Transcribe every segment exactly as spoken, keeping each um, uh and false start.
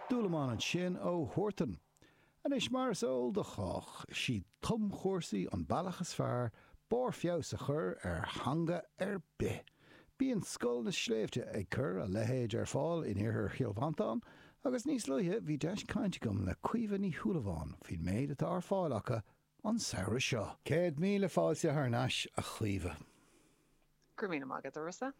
Dúlamán ansin ó Huartan. Anois mar is eol do chách, is iad tumchúrsaí an bealach is fearr barr feabhais a chur ar theanga ar bith. Bíonn Scoil na Sléibhte ag cur a leithéid ar fáil in iarthar Chill Mhantáin agus níos luaithe bhí deis cainte agam le Caoimhe Ní Shúilleabháin faoin méid atá ar fáil acu an samhradh seo. Céad míle fáilte thar n-ais a Chaoimhe. Go raibh míle maith agat a Rossa.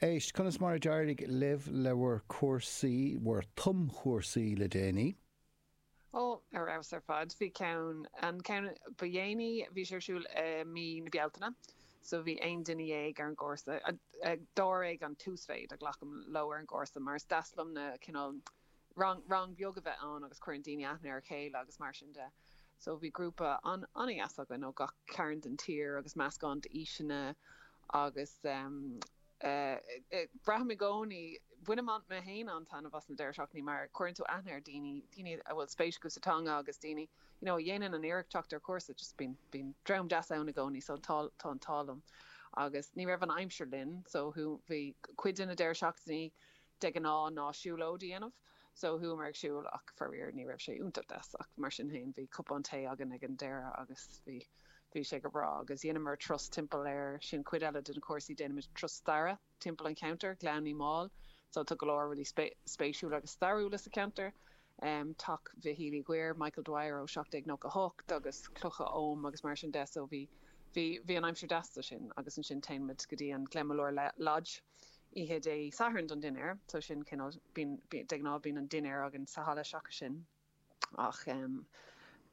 Éist, conas mar a d'éirigh libh le bhur cúrsaí, bhur tumchúrsaí le déanaí? Ó, ar fheabhas ar fad. Bhí ceann, an ceann ba dhéanaí, bhí sé ar siúl i mí na Bealtaine, so bhí aon duine dhéag ar an gcúrsa. Dáréag an t-uasmhéid a ghlacaim leo ar an gcúrsa mar is deas liom na cineál rang, rang beag a bheith ann agus cuireann daoine aithne ar a chéile agus mar sin de. So bhí grúpa an, an-dheas againn ó gach cearn den tír agus meascán d'aoiseanna agus um, uh, braithim i gcónaí bainim an mé féin an-taitneamh as na deireadh seachtainí mar cuireann tú aithne ar daoine daoine a bhfuil spéis acu sa teanga agus daoine you know, a dhéanann an iarracht teacht ar chúrsa just bíonn bíonn dream deas ann i gcónaí so tá tá an t-ádh liom. Agus ní raibh an aimsir linn so thu bhí cuid de na deireadh seachtainí de ghnáth ná siúlóid a dhéanamh so chuamar ag siúl ach faraor ní raibh sé iontach deas ach mar sin féin bhí cupán tae againn ag an deireadh agus bhí bhí sé go breá agus dhéanamar turas timpeall ar sin cuid eile den chúrsaí déanaimid turas staire timpeall an cheantair Gleann Uí Máil so tá go leor rudaí spéisiúla agus stairiúla sa cheantar. Um, Teach Mhichíl Uí Dhuibhir, Michael Dwyer ó seacht déag nócha hocht agus clocha Oghaim agus mar sin de so bhí bhí bhí an aimsir deas sin agus ansin téimid go dtí an Glenmalure Lodge oíche Dé Sathairn don dinnéar so sin cineál bíonn de ghnáth bíonn an dinnéar againn sa halla seachas sin ach um,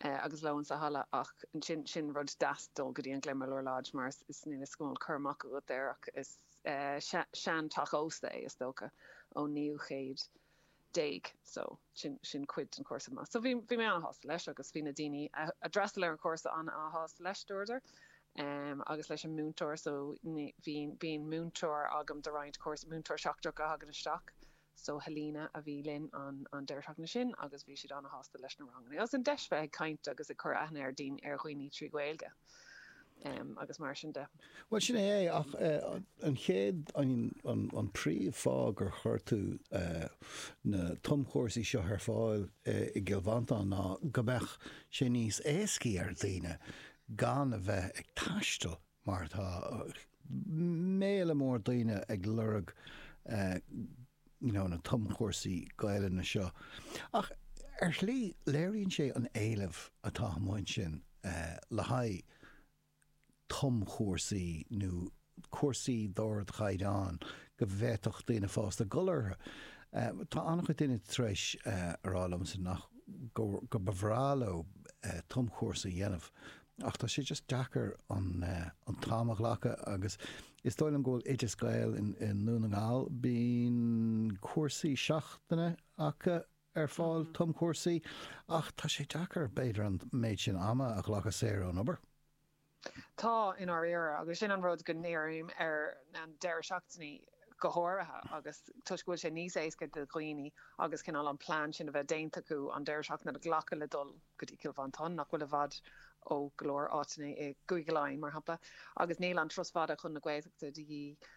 uh, agus lón sa halla ach sin sin rud deas dul go dtí an Glenmalure Lodge mar is, is níl is go bhfuil cur amach agat air ach is uh, sean-teach ósta é is dócha ón naoú céad déag so sin sin cuid den chúrsa maith. So bhí bhí mé an-shásta leis agus bhí na daoine a d'fhreastail ar an chúrsa an-shásta leis dúradar. Um, agus leis an múinteoir so bhí bíonn múinteoir agam do roinnt cúrsa múinteoir seachtrach a thagann isteach so Helena a bhí linn an an deireadh seachtaine sin agus bhí siad an-shásta leis na ranganna. Agus an deis bheith ag caint agus ag cur aithne ar daoine ar dhaoine trí Ghaeilge. Um, agus mar sin de. Well sin é ach uh, an chéad an, an, an príomhfháth gur chuir tú uh, na tumchúrsaí seo ar fáil uh, i gCill Mhantáin ná go mbeadh sé níos éascaí ar daoine gan a bheith ag taisteal mar tá méala mór daoine ag lorg uh, you know, na tumchúrsaí Gaelainne seo. Ach ar shlí léiríonn sé an éileamh atá amuigh ansin uh, le haghaidh tumchúrsaí nó cúrsaí d'ardchaighdeán go bhféadfadh daoine fásta dul orthu. Uh, tá an-chuid daoine tar éis uh, a rá liomsa nach go, go ba bhreá leo uh, tumchúrsa a dhéanamh. Ach tá sé just deacair an, uh, an t-am a ghlacadh agus is dóigh liom go bhfuil Oideas Gael in, in Dún na nGall bíonn cúrsaí seachtaine acu ar fáil mm. tumchúrsaí ach tá sé deacair b'fhéidir an méid sin ama a ghlacadh saor ón obair. Tá in áirithe agus sin an rud go ndírím ar an deireadh seachtainí go háirithe agus toisc go bhfuil sé níos éasca do dhaoine agus cineál an plean sin a bheith déanta acu an deireadh seachtaine a ghlacadh le dul go dtí Cill Mhantáin nach bhfuil i bhfad ó go leor áiteanna i gCúige Laighean mar shampla agus níl an turas fada chun na Gaeltachta de dhíth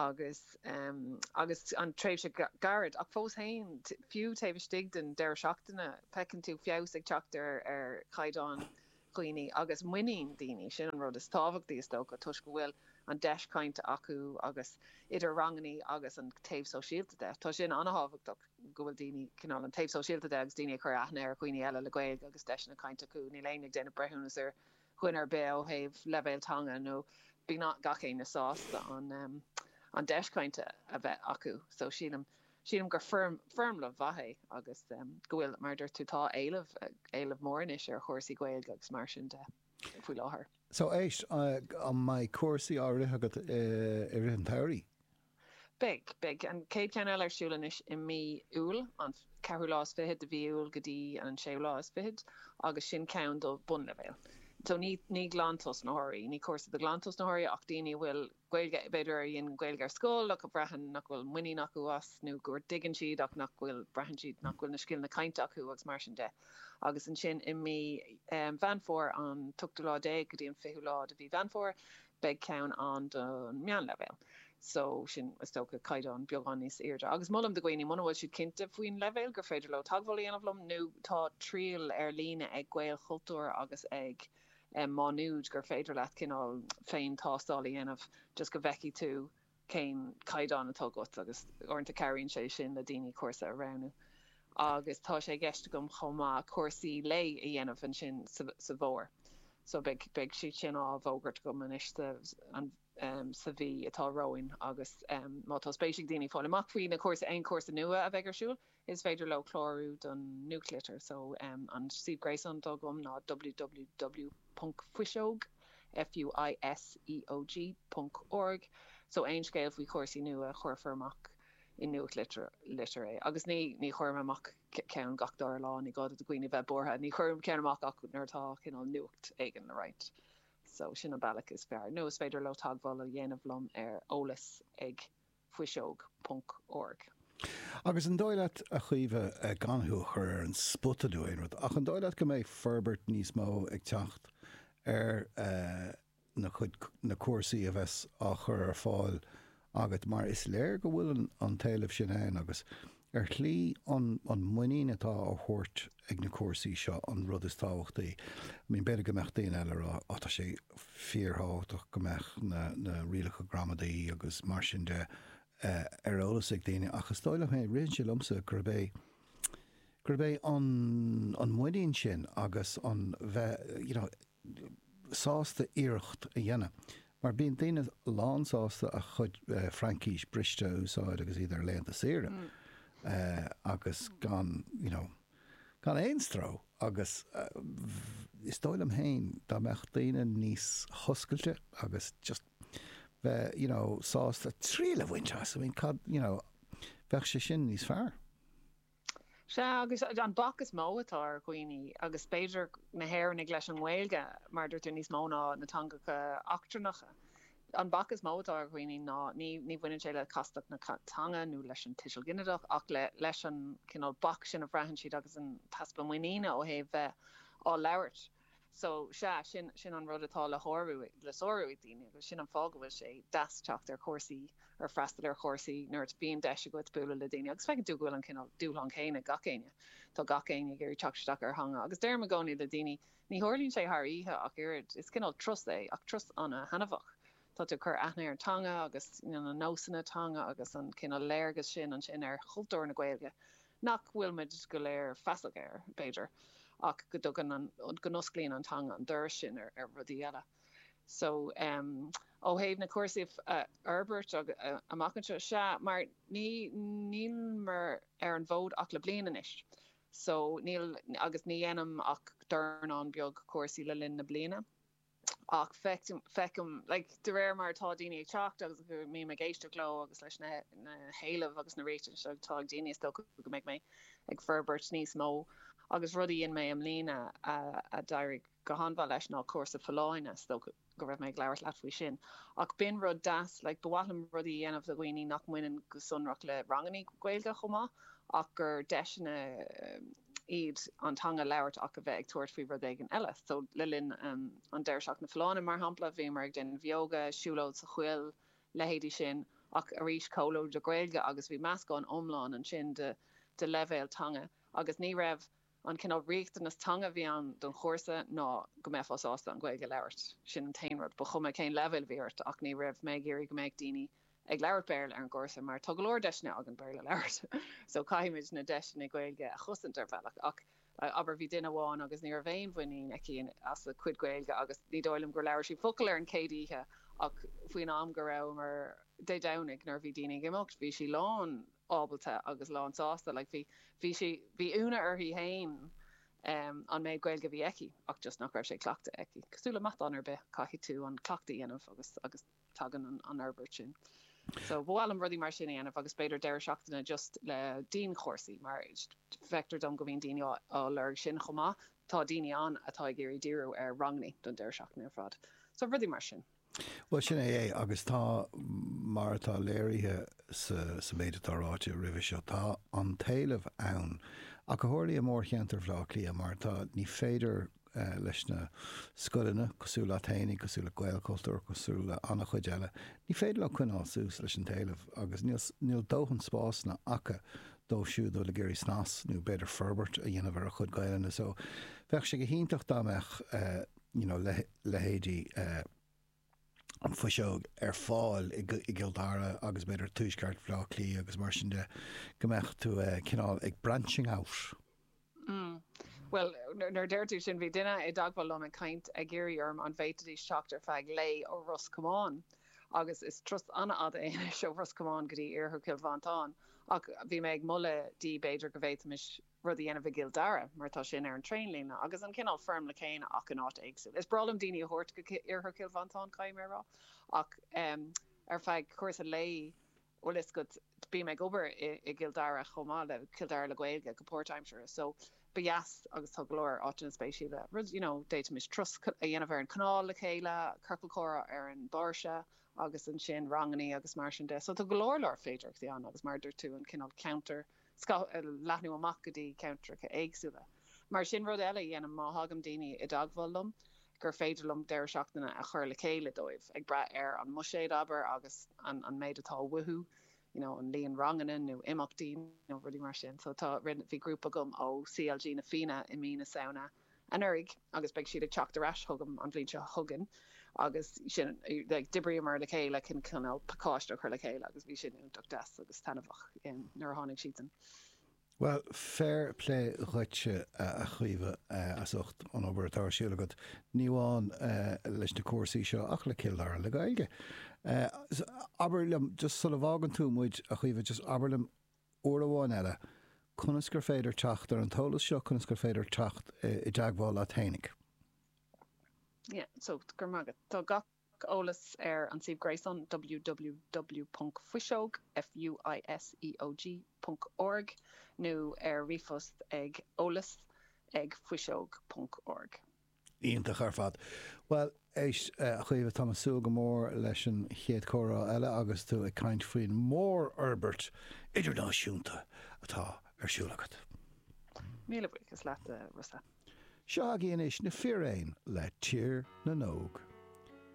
agus um, agus an tréimhse gairid ach fós féin fiú taobh istigh den deireadh seachtaine feiceann tú feabhas ag teacht ar ar chaighdeán dhaoine agus muinín daoine sin an rud is tábhachtaí is dócha toisc go bhfuil an deis cainte acu agus idir ranganna agus an taobh sóisialta de. Tá sin an-tábhachtach go bhfuil daoine cineál an taobh sóisialta de agus daoine ag cur aithne ar dhaoine eile le Gaeilge agus deiseanna cainte acu níl éinne ag déanamh breithiúnas ar dhuine ar bith ó thaobh leibhéal teanga nó bíonn gach éinne sásta an um, an deis cainte a bheith acu so sílim sílim gur foirm foirmle mhaith é agus um, go bhfuil mar dúirt tú tá éileamh éileamh mór anois ar chúrsaí Gaeilge agus mar sin de faoi láthair. So éist uh, an mbeidh cúrsaí á rith agat uh, i rith an tsamhraidh? Beidh, beidh an chéad cheann eile ar siúl anois i mí Iúil an ceathrú lá is fiche de mhí Iúil go dtí an séú lá is fiche agus sin ceann do bunleibhéal. So ní ní glantosnaitheoirí, ní cúrsa do ghlantosnaitheoirí ach daoine bhfuil Gaeilge b'fhéidir ar dhein Gaeilge ar scoil ach a bhraitheann nach bhfuil muinín acu as nó gur dtuigeann siad ach nach bhfuil braitheann siad nach bhfuil na scileanna cainte acu agus mar sin de. Agus ansin i mí um, Mheán Fómhair an t-ochtú lá déag go dtí an fichiú lá de mhí Mheán Fómhair, beidh ceann ann don meánleibhéal. So sin is dócha caighdeán beagán níos airde. Agus molaim do dhaoine muna bhfuil siad cinnte faoin leibhéal gur féidir leo teagmháil a dhéanamh liom nó tá triail ar líne ag Gaelchultúr agus ag um, Má Nuad gur féidir leat cineál féin tástáil a dhéanamh just go bhfeicfidh tú cén caighdeán atá agat agus uaireanta cabhraíonn sé sin le daoine cúrsa a roghnú. Agus tá sé i gceist agam chomh maith cúrsaí lae a dhéanamh ansin sa, sa bhfómhar. So beidh beidh siad sin á bhfógairt agam anois an um, sa mhí atá romhainn agus um, má tá spéis ag daoine fáil amach faoi na cúrsa aon cúrsa nua a bheidh ar siúl, is féidir leo clárú don nuachtlitir so um, an suíomh gréasáin atá agam ná www ponc fuiseog F U I S E O G ponc org so aon scéal faoi chúrsaí nua chuirfear amach i nuachtlitir litir é. Agus ní ní chuirim amach ceann gach dara lá ní gá do dhaoine bheith buartha, ní chuirim ceann amach ach nuair atá cineál nuacht éigin le roinnt. So sin an bealach is fearr. Nó is féidir leo teagmháil a dhéanamh liom ar eolas ag fuiseog ponc org. Agus an dóigh leat a Chaoimhe gan thú a chur ar an spota nó aon rud, ach an dóigh leat go mbeidh forbairt níos mó ag teacht ar na cuid na cúrsaí a bheas á chur ar fáil agat mar is léir go bhfuil an, an t-éileamh sin ann agus ar shlí an, an muinín atá á thabhairt ag na cúrsaí seo an rud is tábhachtaí. I mean, b'fhéidir go mbeadh daoine eile rá á tá sé fíorthábhachtach go mbeadh na, na rialacha gramadaí agus mar sin de uh, ar eolas ag daoine ach is dóigh liom féin ritheann sé liomsa gurb é gurb é an, an muinín sin agus an bheith you know, sásta iarracht a dhéanamh. Mar bíonn daoine lán sásta a chuid uh, Fraincis briste a úsáid agus iad ar laethanta saoire. Mm. Uh, agus gan you know, gan aon stró agus uh, is dóigh liom féin dá mbeadh daoine níos hoscailte agus just bheith you know, sásta triail a bhaint as I mean, cad, you know, bheadh sé sin níos fearr. Sea agus an bac is mó atá ar dhaoine agus b'fhéidir na hÉireannaigh leis an nGaeilge mar dúirt tú níos mó ná na teangacha eachtrannacha. An bac is mó atá ar dhaoine ná ní ní bhaineann sé le castacht na teanga nó leis an tuiseal ginideach ach le leis an cineál bac sin a bhraitheann siad agus an t-easpa muiníne ó thaobh bheith á labhairt. So sea sin sin an rud atá le shárú le sárú ag daoine agus sin an fáth go bhfuil sé deas teacht ar chúrsaí ar freastal ar chúrsaí nuair a bhíonn deis agat bualadh le daoine agus feiceann tú go bhfuil an cineál dúshlán céanna ag gach éinne. Tá gach éinne ag iarraidh teacht isteach ar theanga agus deirim i gcónaí le daoine ní tharlaíonn sé thar oíche ach oiread is cineál turas é ach turas an-thaitneamhach. Tá tú ag cur aithne ar an teanga agus you know, na nósanna teanga agus an cineál léargas sin ansin ar chultúr na Gaeilge nach bhfuil muid go léir feasach air b'fhéidir. ach go dtugann an go n-osclaíonn an teanga an doras sin ar, ar rudaí eile. So um, ó thaobh na cúrsaí uh, fhorbairt uh, amach anseo sea mar ní níl mé ar an bhfód ach le bliain anois. So níl agus ní dhéanaim ach dornán beag cúrsaí le linn na bliana. Ach feicim feicim like, de réir mar atá daoine ag teacht agus go mbím ag éisteacht leo agus leis na, na héilimh agus na riachtanais atá ag daoine is dócha go mbeidh mé ag forbairt níos mó agus rudaí in mé am lína a, a d'éirigh go han-mhaith leis ná cúrsa folláine is dócha go raibh mé ag labhairt leat faoi sin. Ach b'in rud deas like, ba mhaith liom rudaí a dhéanamh do dhaoine nach mbaineann go sonrach le ranganna Gaeilge chomh maith ach gur deiseanna iad an teanga a labhairt ach a bheith ag tabhairt faoi rud éigin eile. So le linn um, an deireadh seachtaine folláine mar shampla bhíomar ag déanamh yoga, siúlóid sa choill, leithéidí sin ach arís comhluadar Gaeilge agus bhí meascán iomlán ansin de, de leibhéal teanga agus ní raibh an cineál riachtanas teanga a bhí ann don chúrsa ná go mbeifeá sásta an Ghaeilge a labhairt. Sin an t-aon rud, ba chuma cén leibhéal a bhí ort ach ní raibh mé ag iarraidh go mbeadh daoine ag labhairt Béarla ar an gcúrsa mar tá go leor deiseanna againn Béarla a labhairt. So caithfimid na deiseanna Gaeilge a chosaint ar bhealach ach abair bhí duine amháin agus ní raibh aon mhuinín aici as a cuid Gaeilge agus ní dóigh liom gur labhair sí focal ar an chéad oíche ach faoin am go rabhamar Dé Domhnaigh nuair a bhí daoine ag imeacht bhí sí lán ábalta agus lán sásta like bhí bhí sí bhí ionadh uirthi féin um, an méid Gaeilge a bhí aici ach just nach raibh sé cleachta aici. Cosúil le matán ar bith caithfidh tú an cleachtadh a dhéanamh agus agus tagann an, an fhorbairt sin. So ba mhaith liom rudaí mar sin a dhéanamh agus b'fhéidir deireadh seachtaine just le dianchúrsaí mar feictear dom go mbíonn daoine á, á lorg sin chomh maith. Tá daoine ann atá ag iarraidh díriú ar ranganna don deireadh seachtaine ar fad. So rudaí mar sin. Well sin é é agus tá mar atá léirithe sa, sa méid atá ráite roimhe seo tá an t-éileamh ann. Ach go háirithe i mórcheantar Bhaile Átha Cliath mar tá ní féidir leis na scoileanna, cosúil leat fhéinig, cosúil le Gaelchultúr, cosúil le an-chuid eile, ní féidir leo coinneáil suas leis an t-éileamh agus níl níl dóthain spásanna acu dóibh siúd a bhfuil ag iarraidh snas nó b'fhéidir forbairt a dhéanamh ar a chuid Gaelainne. So bheadh sé go hiontach dá mbeadh you know leithéidí an Fuiseog ar fáil i gCill Dara agus b'fhéidir tuaisceart Bhaile Átha Cliath agus mar sin de, go mbeadh tú cineál ag branching out. Mm. Bhuel, nuair a deir tú sin, bhí duine i dteagmháil liom ag caint ag iarraidh orm an bhféadfaidís teacht ar feadh lae ó Ros Comáin agus is turas an-fhada é anois ó Ros Comáin go dtí iarthar Chill Mhantáin ach bhí mé ag moladh di b'fhéidir go bhféadfaimis rud a dhéanamh i gCill Dara mar tá sin ar an traenlíne agus an cineál foirmle céanna ach in áit éagsúil. Is breá liom daoine a thabhairt go iarthar Chill Mhantáin, caithfidh mé a rá, ach ar feadh cúrsa lae, bhfuil fhios agat, bím ag obair i gCill Dara chomh maith le Cill Dara le Gaeilge go páirtaimseartha so ba dheas agus tá go leor áiteanna spéisiúla, rud you know d'fhéadfaimis turas a dhéanamh ar an canál le chéile, ciorcal comhrá ar an bpáirse agus ansin rangannaí agus mar sin de. So tá go leor leor féidearthachtaí ann agus mar a dúirt tú an cineál ceantar leathnú amach go dtí ceantracha éagsúla. Mar sin rud eile a dhéanaim má thagann daoine i dteagmháil liom gur féidir liom deireadh seachtaine a chur le chéile dóibh, ag brath ar an mbuiséad abair agus an an méid atá uathu, you know, an líon ranganna nó imeachtaí nó rudaí mar sin. So tá bhí grúpa agam ó CLG na Fianna i mí na Samhna anuraidh agus beidh siad ag teacht ar ais chugam an bhliain seo chugainn agus sin like, d'oibríomar le chéile chun cineál pacáiste a chur le chéile agus bhí sin iontach deas agus taitneamhach nuair a tháinig siadsan. Bhuel, fair play dhuit a Chaoimhe as ucht an obair atá ar siúl agat, ní amháin leis na cúrsaí seo ach le Cill Dara le Gaeilge. Abair liom, just sula bhfágann tú muid a Chaoimhe, just abair liom uair amháin eile, conas gur féidir teacht ar an t-eolas seo, conas gur féidir teacht i dteagmháil leat fhéinig? Yeah, so go raibh maith agat. Tá gach eolas ar an suíomh gréasáin www ponc fuiseog, F-U-I-S-E-O-G, ponc org nó ar ríomhphost ag eolas ag fuiseog ponc org. Iontach ar fad. Bhuel, éist, a Chaoimhe, tá mé ag súil go mór leis an chéad chomhrá eile agus tú ag caint faoin mórfhorbairt idirnáisiúnta atá ar siúl agat. Míle buíochas leat, a Rossa. Seo agaibh anois na fíréin le Tír na nÓg.